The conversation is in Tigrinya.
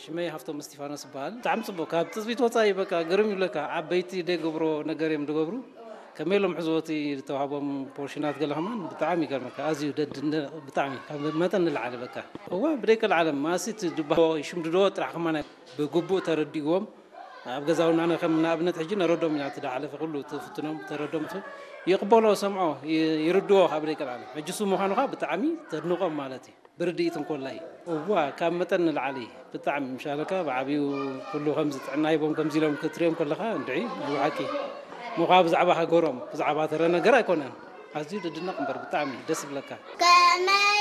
ሽመይ ሃፍቶም እስቲፋኖስ ይበሃል። ብጣዕሚ ጽቡቅ፣ ካብ ትጽቢት ወጻኢ በቃ ግርም ይብለካ። ዓበይቲ ደይ ገብሮ ነገር እዮም ዝገብሩ። ከመይ ኢሎም ሕዝቦቲ ዝተዋህቦም ፖርሽናት ገለ ከማን ብጣዕሚ ይገርመካ። ኣዝዩ ደድ እንደ-፣ ብጣዕሚ ካብ መጠን ንላዕሊ በቃ። እወ ብደይ ከልዓለም ማሲት ድባሆ ይሽምድዶ ጥራሕ ከማን ብግቡእ ተረዲእዎም። ኣብ ገዛውና ኣነ ከም ንኣብነት ሕጂ ነረዶም ኢና፣ እቲ ዳሓለፈ ኩሉ እቲ ፍትኖም ተረዶም ቱ ይቕበሎ፣ ሰምዖ፣ ይ-፣ ይርድዎ ካብ ደይ ከልዓለም። ሕጂ እሱ ምዃኑ ኸዓ ብጣዕሚ ተድንቖም ማለት እዩ። ብርድኢት እንኮላይ እዋ ካብ መጠን ንላዕሊ ብጣዕሚ ምሻለካ ብዓብዩ ኩሉ ከምዚ ጥዕና ሂቦም ከምዚ ኢሎም ክትሪኦም ከለኻ እንድዒ ናይ ብሓቂ ምዃ ብዛዕባ ሃገሮም ብዛዕባ ተረ ነገር ኣይኮነን። ኣዝዩ ድድነቕ እምበር ብጣዕሚ ደስ ይብለካ። ከመይ